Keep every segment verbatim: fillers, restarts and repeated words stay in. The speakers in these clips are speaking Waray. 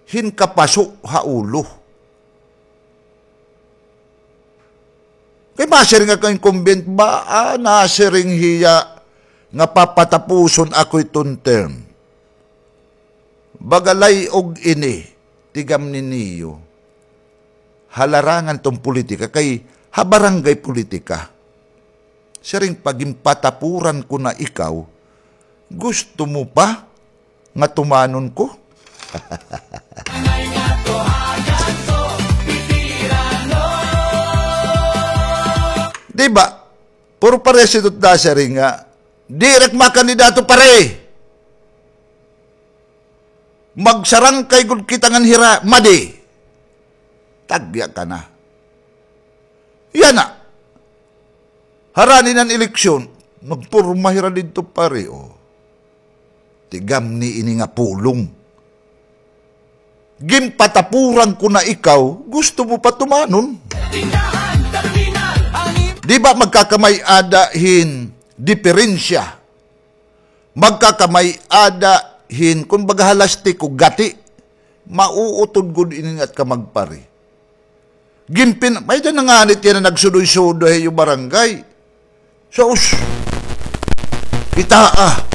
hin kapaso ha ulo. Kay masiring nga ka incumbent ba, ah, nasiring hiya nga papatapuson ako iton term. Baga lay-og ini, tigam ni niyo. Ha larangan iton politika, kay ha barangay politika. Siring pa, ginpatapuran ko na ikaw, gusto mo pa nga tumanon ko? Di ba? Puro pareha ito nasiring nga, diri ak makandidato, pare. Magsarangkay gud kita ngan hira, madi. Tagya ka na. Yana. Harani an eleksyon, nagporma hira didto, pare, o. Tigam ni ini nga pulong. Ginpatapuran ko na ikaw, gusto mo pa tumanon? Di ba magkakamay-ada hin diperensya? Magkakamay-ada hin, kumbaga, ha lastiko, gati. Mauutod gud ini nga at ka magpari. Ginpin-, may-ada na ngani tiyan nga nagsudoy-sudoy ha iyo barangay. Sus! Kitaa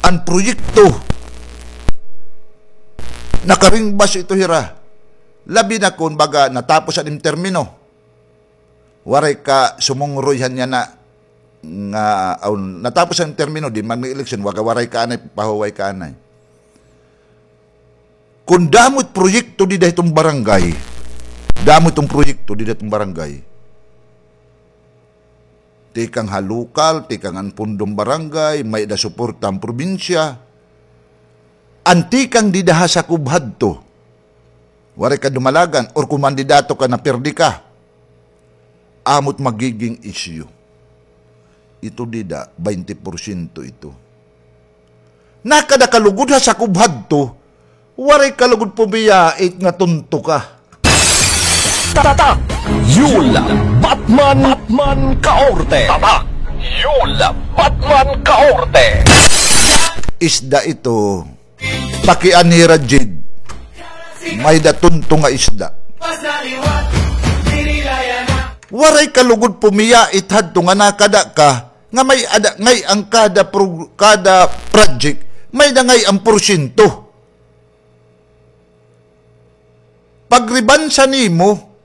an proyekto. Nakaringbas ito hira. Labi na kon baga natapos an im termino. Waray ka sumungroy han yana nga, aw, natapos an termino, di man may eleksyon, waga, waray ka anay, pahuway ka anay. Kon damo it proyekto dida hiton barangay, damo iton proyekto dida hiton barangay. Tikang ha lokal, tikang an pundong barangay, may-ada suporta an probinsya. An tikang dida ha sakob hadto, waray ka dumalagan, or kon mandidato ka, napirdi ka. Amo it magiging isyu. Ito dida, baynte porsyento ito. Nakada ka lugod ha sakob hadto, waray ka lugod pumiyait nga tonto ka. Tatak! Yul Batman, Batman Kaorte. Tatak! Yul Batman Kaorte. Isda ito. Pakianhi ra, Jed. May-ada tonto nga isda. Waray ka lugod pumiyait hadto nga nakada ka, nga may-ada ngay-an kada pro-, kada project, may-ada ngay-an porsyento. Pagribansa nimo,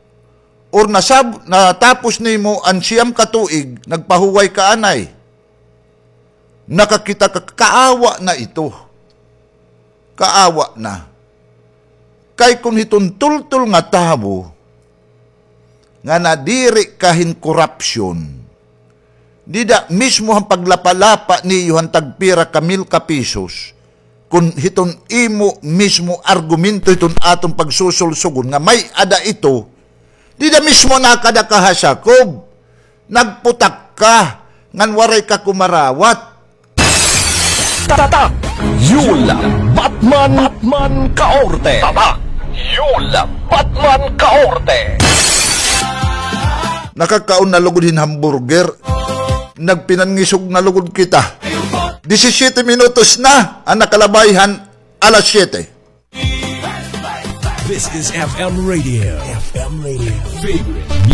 or nasab-, natapos nimo an siyam ka tuig, nagpahuway ka anay. Nakakita ka, kaawa na ito. Kaawa na. Kay kon hiton tultol nga tawo, nga nadiri ka hin korapsyon, dida mismo han paglapa-lapa niyo han tagpira ka mil ka pesos, kon hiton imo mismo argumento hiton aton pagsusulsugon nga may-ada ito, dida mismo nakada ka ha sakob. Nagputak ka, ngan waray ka kumarawat. Tatak! Yul Batman, Batman Kaorte. Tatak! Yul Batman Kaorte. Nakakaon na lugod hin hamburger. Nagpinangisog na lugod kita. Disisiyete minutos na an nakalabay han alas siyete. This is F M Radio. F M Radio. Favorite